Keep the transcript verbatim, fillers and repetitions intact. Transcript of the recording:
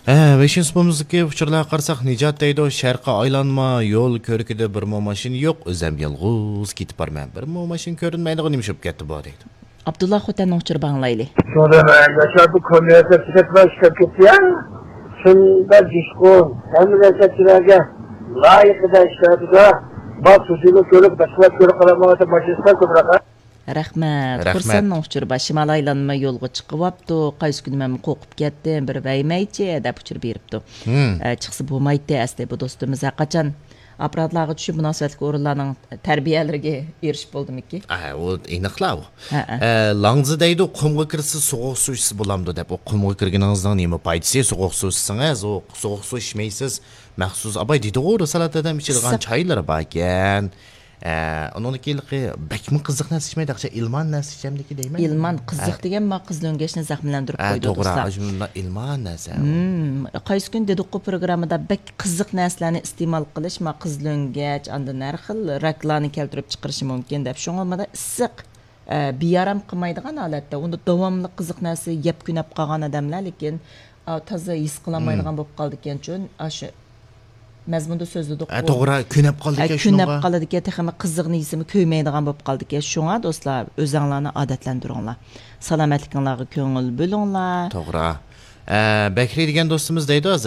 ھە، بەشىنچى سۇپىمىزدىكى ئۇچۇرلارغا قارىساق، نىجات دەيدۇ، شەرققە ئايلانما، يول كۆركىدە بىرمۇ ماشىنا يوق، ئۆزەم يالغۇز كېتىپ بارىمەن. بىرمۇ ماشىنا كۆرۈنمەيدىغان نېمە ئىش بولۇپ كەتتى بۇ دەيدۇ. ئابدۇللا خوتەننىڭ ئۇچۇرى بار، ئاڭلايلى. شۇڭا ياشار بۇ كونۋېرسىيە تۈگەتمەي ئىشلەپ كېتىدۇ. شۇنداق جۇشقۇن، ھەممە نەرسە كىشىلەرگە لايىقىدا ئىشلىتىدۇ. بار سۇسىنى كۆرۈپ، باشقىلار كۆرۈپ قالالمايۋاتقان ماشىنىلار كۆپرەك. رەھمەت. رەھمەت. خۇرسەننىڭ ئۇچۇرى بار. شىمال ئايلانما يولغا چىقىۋاپتۇ. قايسى كۈنى مەن قورقۇپ كەتتىم، بىر ۋەيمەيچى دەپ ئۇچۇر بېرىپتۇ. ھىم. ئە، چىقسا بولمايتتى ئەسلى بۇ دوستىمىز. ھەرقاچان ئاپپاراتلارغا چۈشۈپ، مۇناسىۋەتلىك ئورۇنلارنىڭ تەربىيەلىرىگە ئېرىشىپ بولدىمىكى؟ ئە، ئۇ ئېنىقلا ئۇ. ھە، ھە. ئە، لاڭزا دەيدۇ، قۇمغا كىرسە سوغۇق سۇ ئىچسە بولامدۇ دەپ. ئۇ قۇمغا كىرگىنىڭىزنىڭ نېمە پايدىسى؟ سوغۇق سۇ ئىچسىڭىز، ئۇ سوغۇق سۇ ئىچمەيسىز. مەخسۇس ئاباي دېدىغۇ، رىسالەت ھەدەم ئىچىدىغان ئىسسىق. چايلىرى باركەن. ئە، ئۇنىڭدىن كېيىنلىقى بەكمۇ قىزىق نەرسە ئىچمەيدۇ، ئىلمان نەرسە ئىچەمدىكى دەيمەن. ئىلمان قىزىق ھە. دېگەن ما قىز لۆڭگەچنى زەخىملەندۈرۈپ ھە، قويىدۇ، توغرا. دوستلار. ئاشۇنداق ئىلمان نەرسە. مم، قايسى كۈن دېدۇققۇ پروگراممىدا بەك قىزىق نەرسىلەرنى ئىستېمال قىلىش، ما قىز لۆڭگەچ، ئاندىن ھەر خىل راكلارنى كەلتۈرۈپ چىقىرىشى مۇمكىن دەپ. شۇڭا مانا ئىسسىق، ئە، بىئارام قىلمايدىغان ھالەتتە، ئۇندا داۋاملىق قىزىق نەرسە يەپ كۆنەپ قالغان ئادەملەر، لېكىن، ئا، تازا ھېس قىلالمايدىغان مم. بولۇپ قالىدىكەن. شۇ، ئاشۇ مەزمۇندا سۆزلىدۇق. ھە، توغرا، كۆنەپ قالىدىكەن ھە، كۆنەپ شۇنىڭغا. قالىدىكەن، تېخىمۇ قىزىقنى يېسىمۇ كۆيمەيدىغان بولۇپ قالىدىكەن. شۇڭا دوستلار، ئۆزەڭلارنى ئادەتلەندۈرۈڭلار. سالامەتلىكىڭلارغا كۆڭۈل بۆلۈڭلار. توغرا. ئە، بەكرى دېگەن دوستىمىز دەيدۇ ھازىر،